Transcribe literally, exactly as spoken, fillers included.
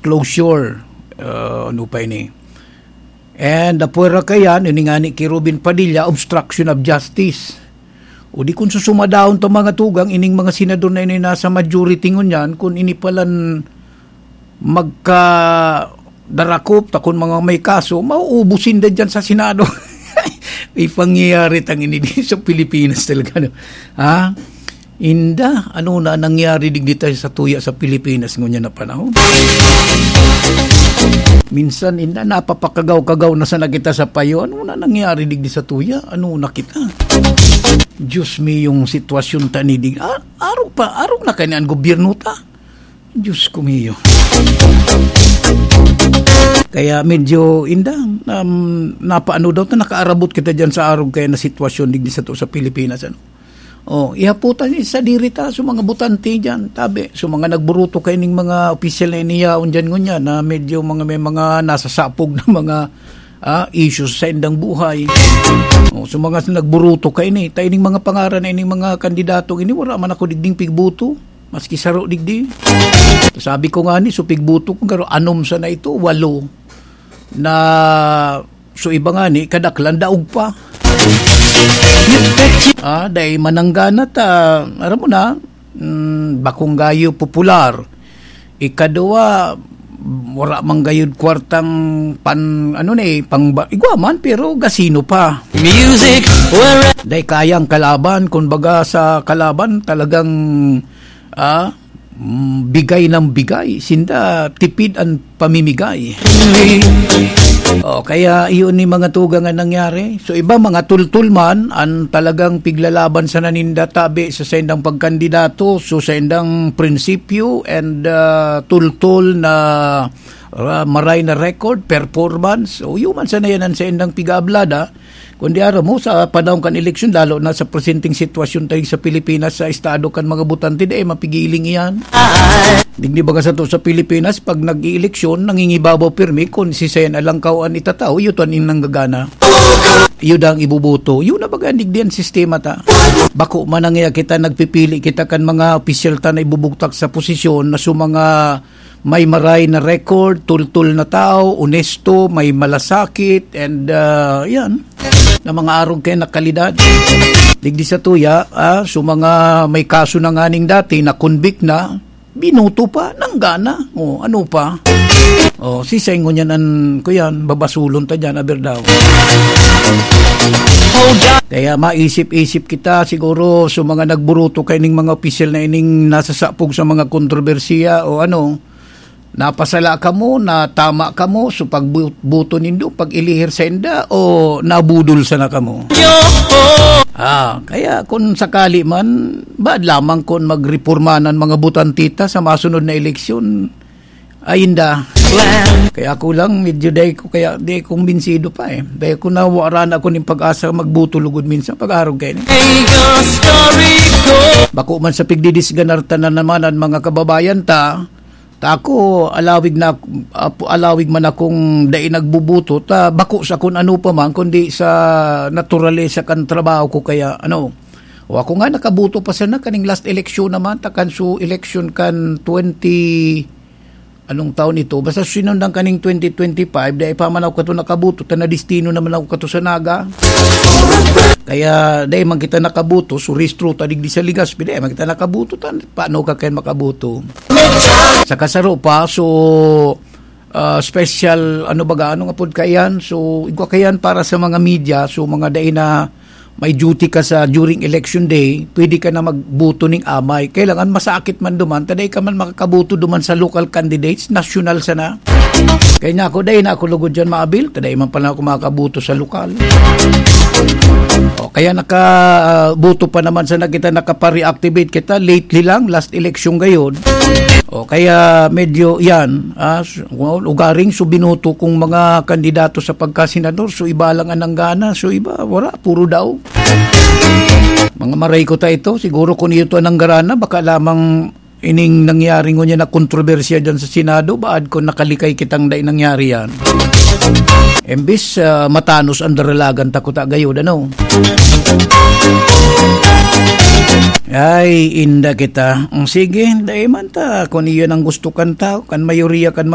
closure. Ah, ano pa ini? And apwera kayan, ini nga ni ki Robin Padilla, obstruction of justice. O di kun susumadahon ta mga tugang, ining mga senador na ini nasa majority ngunyan, kun ini palan magkadarakop, ta kun mga may kaso, mauubos sinda dyan sa Senado. May pangyayari tang ini di sa Pilipinas talaga, no? Ha? Inda, ano na nangyari digdi tayo sa tuya sa Pilipinas ngunyan na panahon? Minsan, inda, napapakagaw-kagaw na sana kita sa payo. Ano na nangyari digdi sa tuya? Ano na kita? Diyos mi, yung sitwasyon ta ni dig-, ah, arog pa, arog na kani an gobyerno ta. Diyos ko mio. Kaya medyo inda, um, napaano daw ta, nakaarabot kita dyan sa arog kaya na sitwasyon digdi sa to sa Pilipinas, ano? Oh, ihaputan ni sa diri ta, sa mga butante dyan, tabi, sa mga nagburuto kaining mga opisyal na iniyaon dyan ngunyan, na medyo mga, may mga nasasapog na mga, ah, issues sa indang buhay. Oh, sa mga nagburuto kaini, ta ining mga pangaran na ining mga kandidato ini, wala man ako digding pigbuto, maski saro digdi. Sabi ko nga ni, so pigbuto ko, pero anom sana ito, walo. Na, so iba nga ni, kadaklan, daog pa. Ah, dai mananggana ta, aram mo na, mm, bakong gayo popular. Ikaduwa, wala man gayod kwartang pan, ano ni, pang ba-, igwa man, pero gasino pa. Music, where Dai kayang kalaban, kun baga sa kalaban, talagang, ah, mm, bigay ng bigay. Sinda, tipid ang pamimigay. O, kaya iyon ni mga tugang ang nangyari. So, iba, mga tultul man, ang talagang piglalaban sa naninda tabi sa saindang pagkandidato. So, saindang prinsipyo and, ah, tultul na, ah, maray na record, performance. O, yun man sana yan ang saindang pig-aablada. Kundi aram mo, sa panahon kan eleksyon, lalo na sa presenteng sitwasyon tayo sa Pilipinas, sa estado kan mga botante, di, eh, mapigiling iyan. Digdi baga sa to sa Pilipinas, pag nag-ieleksyon, nangingibabaw pirmi kung si Sen Alangkaw an itatao, iyo to an nanggagana. Iyo dang ibubuto. Iyo na baga, digdi an sistema ta. Bako man ang iya kita, nagpipili kita kan mga opisyal ta na ibubugtak sa posisyon na sa mga may maray na record, tultul na tao, onesto, may malasakit, and, ah, yan, na mga arog kaya na kalidad. Digdi sa tuya, ah, so mga may kaso na nganing dati, na-convict na, binuto pa, nanggana. O, ano pa? O, si Sengo niyan an, kuyan, babasulon ta dyan, aber daw. Kaya maisip-isip kita, siguro, sa mga nagburuto kaining mga opisyal na ining nasasapog sa mga kontrobersiya o ano, napasala kamo, natama kamo, so pagbu-, buto nindo, pag-ilihir sa inda, o nabudol sana kamo? Ah, kaya kung sakali man, baad lamang kung magreporma nan mga botante ta sa masunod na eleksyon, ay inda. Kaya ako lang, medyo dai ko, kaya di kumbinsido pa eh. Dai ko na, wala na ako ning pag-asa magbuto lugod minsan, pag-arog kayo. Bako man sa pigdidisganar ta na naman ang mga kababayan ta, ta ako, alawig na, ap-, alawig man akong dai nagbubuto, ta bako sa kun ano pa man, kundi sa naturalesa kan trabaho ko, kaya ano, o ako nga nakabuto pa sana kaning last election naman, ta kan su election kan twenty, anong taon ito? Basta sinundan kaning twenty twenty-five, dai pa man ako kato nakabuto, ta nadestino naman ako kato sa Naga. Kaya dai man kita nakabuto, so rehistro ta digdi sa Legazpi, dai man kita nakabuto, ta paano ka kaya makabuto? Sa kasaro pa, so, ah, special, ano baga, ano nga pod kaiyan? So, igwa kaiyan para sa mga media, so mga dai na may duty ka sa during election day, pwede ka na magbuto ning amay. Kailangan masakit man duman, ta dai ka man makakabuto duman sa local candidates, national sana. Kaya nga ako, dai na ako lugod dyan maabil, ta dai man pala ako makakabuto sa lokal. O, kaya nakabuto pa naman sana kita, nakapa-reactivate kita, lately lang, last election gayod. O, kaya medyo yan, ah, s-, well, ugaring so binuto kong mga kandidato sa pagkasenador, so iba lang ang nanggana, so iba, wala, puro daog. Mga maray ko ta ito, siguro kung iyo to ang nanggarana, baka lamang ining nangyari ngunyan na kontrobersiya dyan sa Senado, baad ko nakalikay kitang dai nangyari yan. Imbis, ah, matanos ang daralagan ta kuta gayod, ano? Ay, inda kita. Mm, sige, dai man ta. Kung iyon ang gusto kan tao, kan mayoriya kan mga